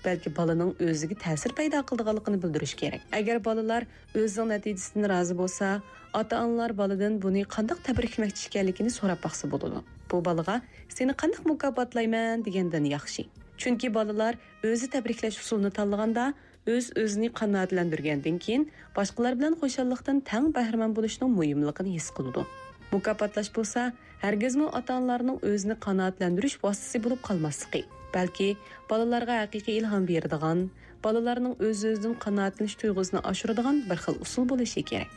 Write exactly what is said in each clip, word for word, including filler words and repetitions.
بەلكى بالىنىڭ ئۆزىگە تەسىر پەيدا قىلىدىغانلىقىنى بىلدۈرۈش كېرەك. ئەگەر بالىلار ئۆزىنىڭ نەتىجىسىدىن رازى بولسا، ئاتا-ئانىلار بالىدىن بۇنى قانداق تەبرىكلىمەكچى ئىكەنلىكىنى سوراپ باقسا بولىدۇ. بۇ بالىغا «سېنى قانداق مۇكاپاتلايمەن؟» دېگەندىن ياخشى. چۈنكى بالىلار ئۆزى تەبرىكلەش ئۇسۇلىنى تاللىغاندا، ئۆز-ئۆزىنى قانائەتلەندۈرگەندىن كېيىن، باشقىلار بىلەن خۇشاللىقتىن تەڭ بەھرىمەن بولۇشنىڭ مۇھىملىقىنى ھېس قىلىدۇ. مۇكاپاتلاش بولسا، ھەرگىزمۇ ئاتا-ئانىلارنىڭ ئۆزىنى قانائەتلەندۈرۈش ۋاسىتىسى بولۇپ قالماسلىقى، بەلكى بالىلارغا ھەقىقىي ئىلھام بېرىدىغان، بالىلارنىڭ ئۆز-ئۆزىدىن قانائەتلىنىش تۇيغۇسىنى ئاشۇرىدىغان بىر خىل ئۇسۇل بولۇشى كېرەك.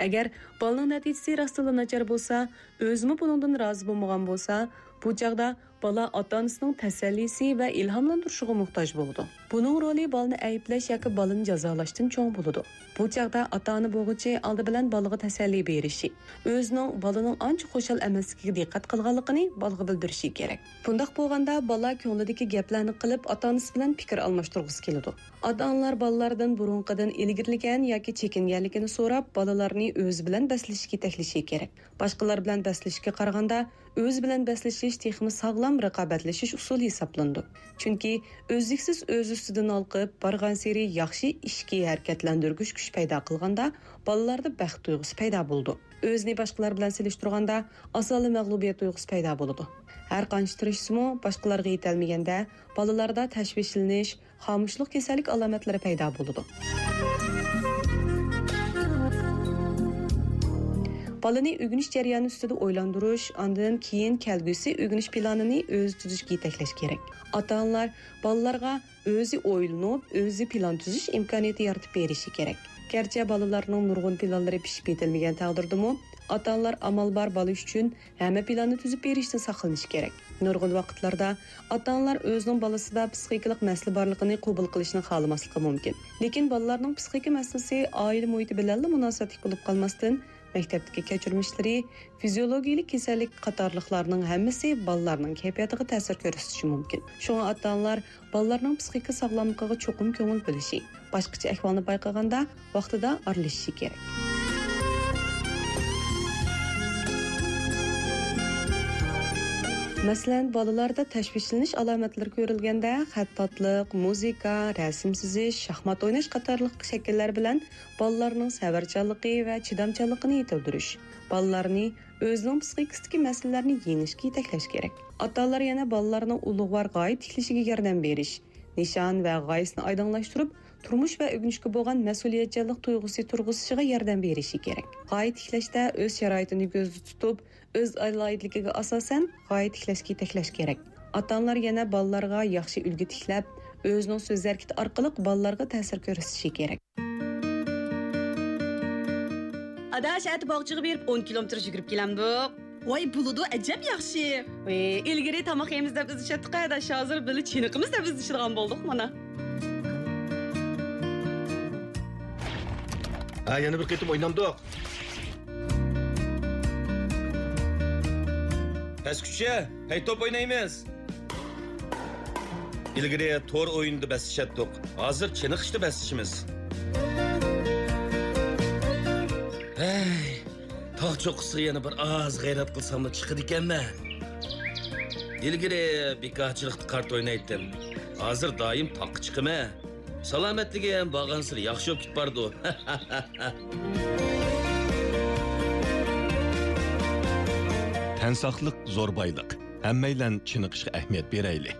ئەگەر بالىنىڭ نەتىجىسى راستتىنلا ناچار بولسا، ئۆزىمۇ بۇنىڭدىن رازى بولمىغان بولسا، بۇ چاغدا بالا ئاتا-ئانىسىنىڭ تەسەللىسى ۋە ئىلھاملاندۇرۇشىغا موھتاج بولىدۇ. بۇنىڭ رولى بالىنى ئەيىبلەش ياكى بالىنى جازالاشتىن چوڭ بولىدۇ. بۇ چاغدا ئاتا-ئانا بولغۇچى ئالدى بىلەن بالىغا تەسەللى بېرىشى، ئۆزىنىڭ بالىنىڭ ئانچە خۇشال ئەمەسلىكىگە دىققەت قىلغانلىقىنى بالىغا بىلدۈرۈشى كېرەك. بۇنداق بولغاندا بالا كۆڭلىدىكى گەپلەرنى قىلىپ، ئاتا-ئانىسى بىلەن پىكىر ئالماشتۇرغۇسى كېلىدۇ. ئاتا-ئانىلار بالىلاردىن بۇرۇنقىدىن ئىلگىرىلىگەن ياكى چېكىنگەنلىكىنى سوراپ، بالىلارنى ئۆزى بىلەن بەسلىشىشكە يېتەكلىشى كېرەك. باشقىلار بىلەن بەسلىشىشكە قارىغاندا، ئۆزى بىلەن بەسلىشىش تېخىمۇ ساغلام رىقابەتلىشىش ئۇسۇلى ھېسابلىنىدۇ. چۈنكى ئۈزلۈكسىز ئۆز ئۈستىدىن ھالقىپ، بارغانسېرى ياخشى ئىچكى ھەرىكەتلەندۈرگۈچ كۈچ پەيدا قىلغاندا، بالىلاردا بەخت تۇيغۇسى پەيدا بولىدۇ. ئۆزىنى باشقىلار بىلەن سېلىشتۇرغاندا، ئاسانلا مەغلۇبىيەت تۇيغۇسى پەيدا بولىدۇ. ھەر قانچە تىرىشسىمۇ، باشقىلارغا يېتەلمىگەندە، بالىلاردا تەشۋىشلىنىش، خامۇشلۇق كېسەللىك ئالامەتلىرى پەيدا بولىدۇ. بالىنى ئۆگىنىش جەريانى ئۈستىدە ئويلاندۇرۇش، ئاندىن كېيىن كەلگۈسى ئۆگىنىش پىلانىنى ئۆزى تۈزۈشكە يېتەكلەش كېرەك. ئاتا-ئانىلار بالىلارغا ئۆزى ئويلىنىپ، ئۆزى پىلان تۈزۈش ئىمكانىيىتى يارىتىپ بېرىشى كېرەك. گەرچە بالىلارنىڭ نۇرغۇن پىلانلىرى پىشىپ يېتىلمىگەن تەقدىردىمۇ، ئاتا-ئانىلار ئامال بار بالا ئۈچۈن ھەممە پىلاننى تۈزۈپ بېرىشتىن ساقلىنىشى كېرەك. نۇرغۇن ۋاقىتلاردا ئاتا-ئانىلار ئۆزىنىڭ بالىسىدا پسىخىكىلىق مەسىلە بارلىقىنى قوبۇل قىلىشنى خالىماسلىقى مۇمكىن. لېكىن بالىلارنىڭ پسىخىكا مەسىلىسى ئائىلە مۇھىتى بىلەنلا مۇناسىۋەتلىك بولۇپ قالماستىن، مەكتەپتىكى كەچۈرمىشلىرى، فىزىيولوگىيەلىك كېسەللىك قاتارلىقلارنىڭ ھەممىسى بالىلارنىڭ كەيپىياتىغا تەسىر كۆرسىتىشى مۇمكىن. شۇڭا ئاتا-ئانىلار بالىلارنىڭ پسىخىكا ساغلاملىقىغا چوقۇم كۆڭۈل بۆلۈشى، باشقىچە ئەھۋالنى بايقىغاندا ۋاقتىدا ئارىلىشىشى كېرەك. مەسىلەن، بالىلاردا تەشۋىشلىنىش ئالامەتلىرى كۆرۈلگەندە، خەتتاتلىق، مۇزىكا، رەسىم سىزىش، شاھمات ئويناش قاتارلىق شەكىللەر بىلەن بالىلارنىڭ سەۋرچانلىقى ۋە چىدامچانلىقىنى يېتىلدۈرۈش، بالىلارنى ئۆزىنىڭ پسىخىكىسىدىكى مەسىلىلەرنى يېڭىشكە يېتەكلەش كېرەك. ئاتا-ئانىلار يەنە بالىلارنىڭ ئۇلۇغۋار غايە تىكلىشىگە ياردەم بېرىش، نىشان ۋە غايىسىنى ئايدىڭلاشتۇرۇپ، تۇرمۇش ۋە ئۆگىنىشكە بولغان مەسئۇلىيەتچانلىق تۇيغۇسى تۇرغۇزۇشىغا ياردەم بېرىشى كېرەك. غايە تىكلەشتە ئۆز شارائىتىنى كۆزدە تۇتۇپ، ئۆز ئالاھىدىلىكىگە ئاساسەن غايە تىكلەشكە يېتەكلەش كېرەك. ئاتا-ئانىلار يەنە بالىلارغا ياخشى ئۈلگە تىكلەپ، ئۆزىنىڭ سۆز ھەرىكىتى ئارقىلىق بالىلارغا تەسىر كۆرسىتىشى كېرەك. ئاداش، ئەتە باغچىغا بېرىپ ئون كىلومېتىر يۈگۈرۈپ كېلەمدۇق. ۋاي، بولىدۇ، ئەجەب ياخشى. ئىلگىرى تاماق يەيمىز دەپ ئىزدىشەتتۇق، ئاداش، ھازىر بىللە چېنىقىمىز دەپ ئىزدىشىدىغان بولدۇق مانا. ھە، يەنە بىر قېتىم ئوينامدۇق. پەسكۈچە، ھەي، توپ ئوينايمىز. ئىلگىرى تور ئويۇنىدا بەسلىشەتتۇق. ھازىر چېنىقىشتا بەسلىشىمىز. ھەي، تاغ چوققىسىغا يەنە بىر ئاز غەيرەت قىلساملا چىقىدىكەنمەن. ئىلگىرى بىكارچىلىقتا قارت ئوينايتتىم. ھازىر دائىم تاغقا چىقىمەن. سالامەتلىكىم بارغانسېرى ياخشى بولۇپ كېتىپ بارىدۇ. تەن ساقلىق زور بايلىق. ھەممەيلەن چېنىقىشقا ئەھمىيەت بېرەيلى.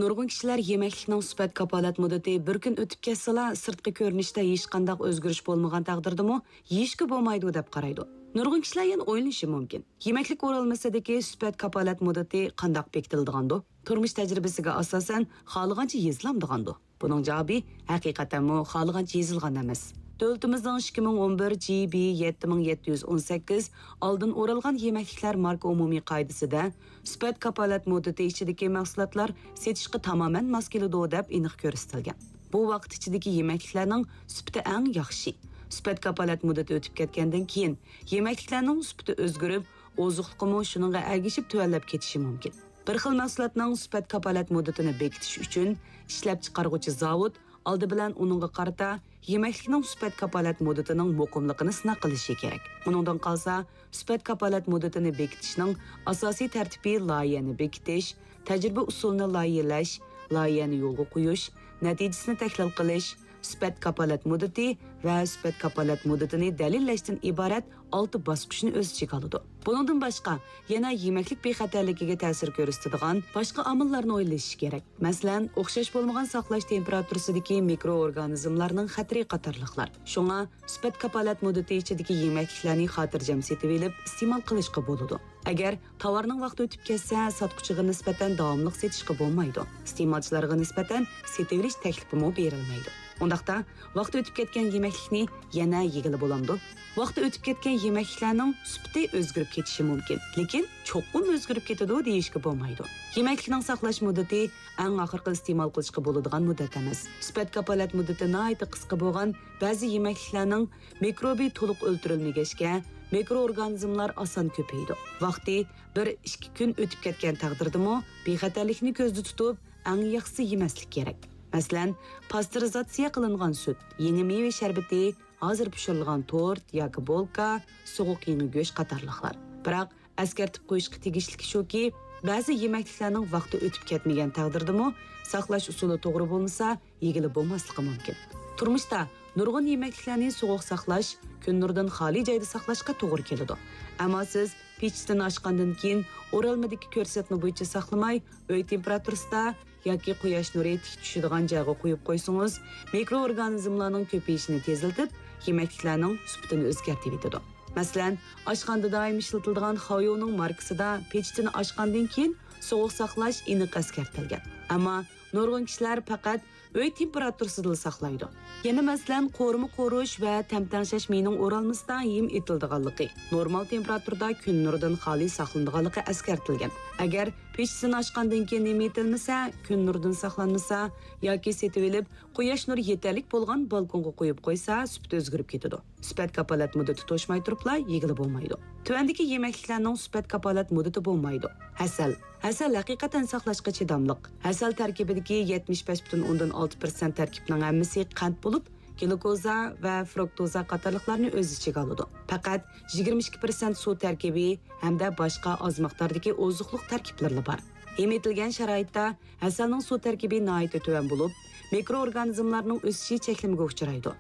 نۇرغۇن كىشىلەر يېمەكلىكنىڭ سۈپەت كاپالەت مۇددىتى بىر كۈن ئۆتۈپ كەتسىلا، سىرتقى كۆرۈنۈشتە ھېچقانداق ئۆزگىرىش بولمىغان تەقدىردىمۇ يېيىشكە بولمايدۇ دەپ قارايدۇ. نۇرغۇن كىشىلەر يەنە ئويلىنىشى مۇمكىن، يېمەكلىك ئورالمىسىدىكى سۈپەت كاپالەت مۇددىتى قانداق بېكىتىلىدىغاندۇ؟ تۇرمۇش تەجرىبىسىگە ئاساسەن، خالىغانچە يېزىلامدىغاندۇ؟ بۇنىڭ جاۋابى ھەقىقەتەنمۇ خالىغانچە يېزىلغان ئەمەس. دۆلىتىمىزنىڭ ئىككى مىڭ ئون بىر جى بى يەتتە مىڭ يەتتە يۈز ئون سەككىز ئالدىن ئورالغان يېمەكلىكلەر ماركا ئومۇمىي قائىدىسىدە سۈپەت كاپالەت مۇددىتى ئىچىدىكى مەھسۇلاتلار سېتىشقا تامامەن ماس كېلىدۇ دەپ ئېنىق كۆرسىتىلگەن. بۇ ۋاقىت ئىچىدىكى يېمەكلىكلەرنىڭ سۈپىتى ئەڭ ياخشى. سۈپەت كاپالەت مۇددىتى ئۆتۈپ كەتكەندىن كېيىن، يېمەكلىكلەرنىڭ سۈپىتى ئۆزگىرىپ، ئوزۇقلۇقىمۇ شۇنىڭغا ئەگىشىپ تۆۋەنلەپ كېتىشى مۇمكىن. بىر خىل مەھسۇلاتنىڭ سۈپەت كاپالەت مۇددىتىنى بېكىتىش ئۈچۈن، ئىشلەپچىقارغۇچى زاۋۇت ئالدى بىلەن ئۇنىڭغا قارىتا يېمەكلىكنىڭ سۈپەت كاپالەت مۇددىتىنىڭ مۇقىملىقىنى سىناق قىلىشى كېرەك. ئۇنىڭدىن قالسا، سۈپەت كاپالەت مۇددىتىنى بېكىتىشنىڭ ئاساسىي تەرتىپى لايىھەنى بېكىتىش، تەجرىبە ئۇسۇلىنى لايىھەلەش، لايىھەنى يولغا قويۇش، نەتىجىسىنى تەھلىل قىلىش، سۈپەت كاپالەت مۇددىتى ۋە سۈپەت كاپالەت مۇددىتىنى دەلىللەشتىن ئىبارەت ئالتە باسقۇچنى ئۆز ئىچىگە ئالىدۇ. بۇنىڭدىن باشقا، يەنە يېمەكلىك بىخەتەرلىكىگە تەسىر كۆرسىتىدىغان باشقا ئامىللارنى ئويلىشىش كېرەك. مەسىلەن، ئوخشاش بولمىغان ساقلاش تېمپېراتۇرىسىدىكى مىكرو ئورگانىزملارنىڭ خەتىرى قاتارلىقلار. شۇڭا، سۈپەت كاپالەت مۇددىتى ئىچىدىكى يېمەكلىكلەرنى خاتىرجەم سېتىۋېلىپ ئىستېمال قىلىشقا بولىدۇ. ئەگەر تاۋارنىڭ ۋاقتى ئۆتۈپ كەتسە، ساتقۇچىغا نىسبەتەن داۋاملىق سېتىشقا بولمايدۇ. ئىستېمالچىلارغا نىسبەتەن سېتىۋېلىش تەكلىپىمۇ بېرىلمەيدۇ. ئۇنداقتا، ۋاقتى ئۆتۈپ كەتكەن يېمەكلىكنى يەنە يېگىلى بولامدۇ؟ ۋاقتى ئۆتۈپ كەتكەن يېمەكلىكلەرنىڭ سۈپىتى ئۆزگىرىپ كېتىشى مۇمكىن، لېكىن چوقۇم ئۆزگىرىپ كېتىدۇ دېيىشكە بولمايدۇ. يېمەكلىكنىڭ ساقلاش مۇددىتى ئەڭ ئاخىرقى ئىستېمال قىلىشقا بولىدىغان مۇددەت ئەمەس. سۈپەت كاپالەت مۇددىتى ناھايىتى قىسقا بولغان بەزى يېمەكلىكلەرنىڭ مىكروبى تولۇق ئۆلتۈرۈلمىگەچكە، مىكرو ئورگانىزملار ئاسان كۆپىيىدۇ. ۋاقتى بىر، ئىككى كۈن ئۆتۈپ كەتكەن تەقدىردىمۇ، بىخەتەرلىكنى كۆزدە تۇتۇپ، ئەڭ ياخشىسى يېمەستىك كېرەك. مەسىلەن، پاستېرىزاتسىيە قىلىنغان سۈت، يېڭى مېۋە شەربىتى، ھازىر پىشۇرۇلغان تورت ياكى بولكا، سوغۇق يېڭى گۆش قاتارلىقلار. بىراق، ئەسكەرتىپ قويۇشقا تېگىشلىكى شۇكى، بەزى يېمەكلىكلەرنىڭ ۋاقتى ئۆتۈپ كەتمىگەن تەقدىردىمۇ، ساقلاش ئۇسۇلى توغرا بولمىسا، يېگىلى بولماسلىقى مۇمكىن. تۇرمۇشتا نۇرغۇن يېمەكلىكلەرنى سوغۇق ساقلاش، كۈن نۇرىدىن خالىي جايدا ساقلاشقا توغرا كېلىدۇ. ئەمما سىز پېچىتىنى ئاچقاندىن كېيىن، ئورالمىدىكى كۆرسەتمە بويىچە ساقلىماي، ئۆي تېمپېراتۇرىسىدا ياكى قۇياش نۇرى تىك چۈشىدىغان جايغا قويۇپ قويسىڭىز، مىكرو ئورگانىزملارنىڭ كۆپىيىشىنى تېزلىتىپ، يېمەكلىكلەرنىڭ سۈپىتىنى ئۆزگەرتىۋېتىدۇ. مەسىلەن، ئاشخانىدا دائىم ئىشلىتىلىدىغان خاۋيۇنىڭ ماركىسىدا پېچىتىنى ئاچقاندىن كېيىن سوغۇق ساقلاش ئېنىق ئەسكەرتىلگەن. ئەمما نۇرغۇن كىشىلەر پەقەت ئۆي تېمپېراتۇرىسىدىلا ساقلايدۇ. يەنە مەسىلەن، قورۇما قورۇش ۋە تەم تەڭشەش مېيىنىڭ ئورالمىسىدا ھىم ئېتىلىدىغانلىقى، نورمال تېمپېراتۇرىدا كۈن نۇرىدىن خالىي ساقلىنىدىغانلىقى ئەسكەرتىلگەن. ئەگەر پېچىتىنى ئاچقاندىن كېيىن ھىم ئېتىلمىسە، كۈن نۇرىدىن ساقلانمىسا ياكى سېتىۋېلىپ، قۇياش نۇرى يېتەرلىك بولغان بالكونغا قويۇپ قويسا، سۈپىتى ئۆزگىرىپ كېتىدۇ. سۈپەت كاپالەت مۇددىتى توشماي تۇرۇپلا يېگىلى بولمايدۇ. تۆۋەندىكى يېمەكلىكلەرنىڭ سۈپەت كاپالەت مۇددىتى بولمايدۇ. ھەسەل. ھەسەل ھەقىقەتەن ساقلاشقا چىداملىق. ھەسەل تەركىبىدىكى يەتمىش بەش پۈتۈن ئوندىن ئالتە پىرسەنت تەركىبىنىڭ ھەممىسى قەنت بولۇپ، گلۇكوزا ۋە فرۇكتوزا قاتارلىقلارنى ئۆز ئىچىگە ئالىدۇ. پەقەت يىگىرمە ئىككى پىرسەنت سۇ تەركىبى ھەمدە باشقا ئاز مىقداردىكى ئوزۇقلۇق تەركىبلىرىلا بار. ھىم ئېتىلگەن شارائىتتا ھەسەلنىڭ سۇ تەركىبى ناھايىتى تۆۋەن بولۇپ، مىكرو ئورگانىزملارنىڭ ئۆسۈشى چەكلىمىگە ئۇچرايدۇ.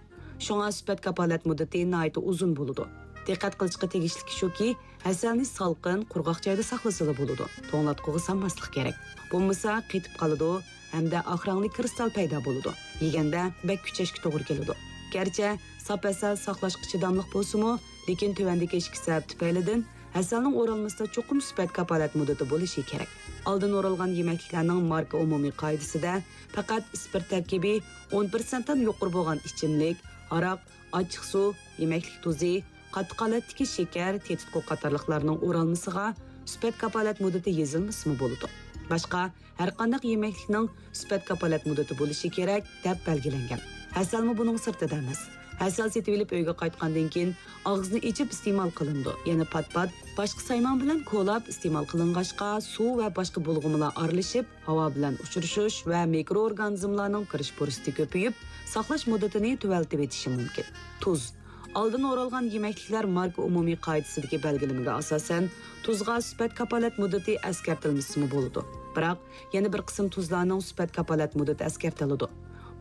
شۇڭا سۈپەت كاپالەت مۇددىتى ناھايىتى ئۇزۇن بولىدۇ. دىققەت قىلىشقا تېگىشلىكى شۇكى، ھەسەلنى سالقىن، قۇرغاق جايدا ساقلىسىلا بولىدۇ. توڭلاتقۇغا سالماسلىق كېرەك. بولمىسا قېتىپ قالىدۇ ھەمدە ئاق رەڭلىك كىرىستال پەيدا بولىدۇ. يېگەندە بەك كۈچەشكە توغرا كېلىدۇ. گەرچە ساپ ھەسەل ساقلاشقا چىداملىق بولسىمۇ، لېكىن تۆۋەندىكى ئىككى سەۋەب تۈپەيلىدىن ھەسەلنىڭ ئورالمىسىدا چوقۇم سۈپەت كاپالەت مۇددىتى بولۇشى كېرەك. ئالدىن ئورالغان يېمەكلىكلەرنىڭ ماركا ئومۇمىي قائىدىسىدە پەقەت ئىسپىرت تەركىبى ئون پىرسەنتتىن يۇقىرى بولغان ئىچىملىك، ھاراق، ئاچچىق سۇ، يېمەكلىك تۇزى، قاتتىق ھالەتتىكى شېكەر، تېتىتقۇ قاتارلىقلارنىڭ ئورالمىسىغا سۈپەت كاپالەت مۇددىتى يېزىلمىسىمۇ بولىدۇ. باشقا ھەرقانداق يېمەكلىكنىڭ سۈپەت كاپالەت مۇددىتى بولۇشى كېرەك دەپ بەلگىلەنگەن. ھەسەلمۇ بۇنىڭ سىرتىدا ئەمەس. ھەسەل سېتىۋېلىپ ئۆيگە قايتقاندىن كېيىن ئاغزىنى ئېچىپ ئىستېمال قىلىنىدۇ. يەنە پات-پات باشقا سايمان بىلەن كولاپ ئىستېمال قىلىنغاچقا، سۇ ۋە باشقا بۇلغىمىلار ئارىلىشىپ، ھاۋا بىلەن ئۇچرىشىش ۋە مىكرو ئورگانىزملارنىڭ كىرىش پۇرسىتى كۆپىيىپ، ساقلاش مۇددىتىنى تۆۋەنلىتىۋېتىشى مۇمكىن. تۇز. ئالدىن ئورالغان يېمەكلىكلەر ماركا ئومۇمىي قائىدىسىدىكى بەلگىلىمىگە ئاساسەن، تۇزغا سۈپەت كاپالەت مۇددىتى ئەسكەرتىلمىسىمۇ بولىدۇ. بىراق، يەنە بىر قىسىم تۇزلارنىڭ سۈپەت كاپالەت مۇددىتى ئەسكەرتىلىدۇ.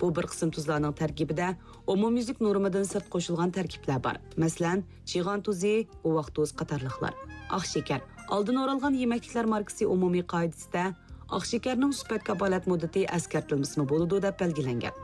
بۇ بىر قىسىم تۇزلارنىڭ تەركىبىدە ئومۇميۈزلۈك نورمىدىن سىرت قوشۇلغان تەركىبلەر بار. مەسىلەن، چىغان تۇزى، بوۋاق تۇز قاتارلىقلار. ئاق شېكەر. ئالدىن ئورالغان يېمەكلىكلەر ماركىسى ئومۇمىي قائىدىسىدە ئاق شېكەرنىڭ سۈپەت كاپالەت مۇددىتى ئەسكەرتىلمىسىمۇ بولىدۇ دەپ بەلگىلەنگەن.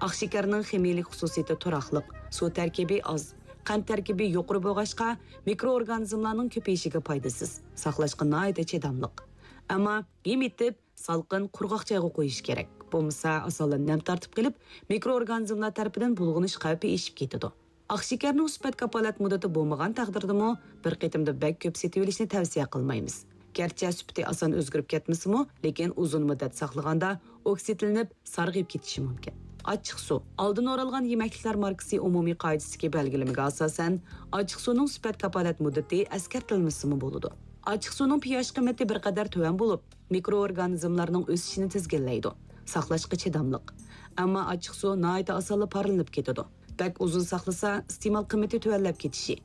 ئاق شېكەرنىڭ خىمىيەلىك خۇسۇسىيىتى تۇراقلىق، سۇ تەركىبى ئاز، قەنت تەركىبى يۇقىرى بولغاچقا، مىكرو ئورگانىزملارنىڭ كۆپىيىشىگە پايدىسىز، ساقلاشقا ناھايىتى چىداملىق. ئەمما ھىم ئېتىپ، سالقىن، قۇرغاق جايغا قويۇش كېرەك. بولمىسا، ئاسانلا نەم تارتىپ قېلىپ، مىكرو ئورگانىزملار تەرىپىدىن بۇلغىنىش خەۋپى ئېشىپ كېتىدۇ. ئاق شېكەرنىڭ سۈپەت كاپالەت مۇددىتى بولمىغان تەقدىردىمۇ، بىر قېتىمدا بەك كۆپ سېتىۋېلىشنى تەۋسىيە قىلمايمىز. گەرچە سۈپىتى ئاسان ئۆزگىرىپ كەتمىسىمۇ، لېكىن ئۇزۇن مۇددەت ساقلىغاندا ئوكسىدلىنىپ، سارغىيىپ كېتىشى مۇمكىن. ئاچچىق سۇ. ئالدىن ئورالغان يېمەكلىكلەر ماركىسى ئومۇمىي قائىدىسىدىكى بەلگىلىمىگە ئاساسەن، ئاچچىق سۇنىڭ سۈپەت كاپالەت مۇددىتى ئەسكەرتىلمىسىمۇ بولىدۇ. ئاچچىق سۇنىڭ پىياش قىممىتى بىر قەدەر تۆۋەن بولۇپ، مىكرو ئورگانىزملارنىڭ ئۆسۈشىنى تىزگىنلەيدۇ. ساقلاشقا چىداملىق. ئەمما ئاچچىق سۇ ناھايىتى ئاسانلا پارلىنىپ كېتىدۇ. بەك ئۇزۇن ساقلىسا، ئىستېمال قىممىتى تۆۋەنلەپ كېتىشى،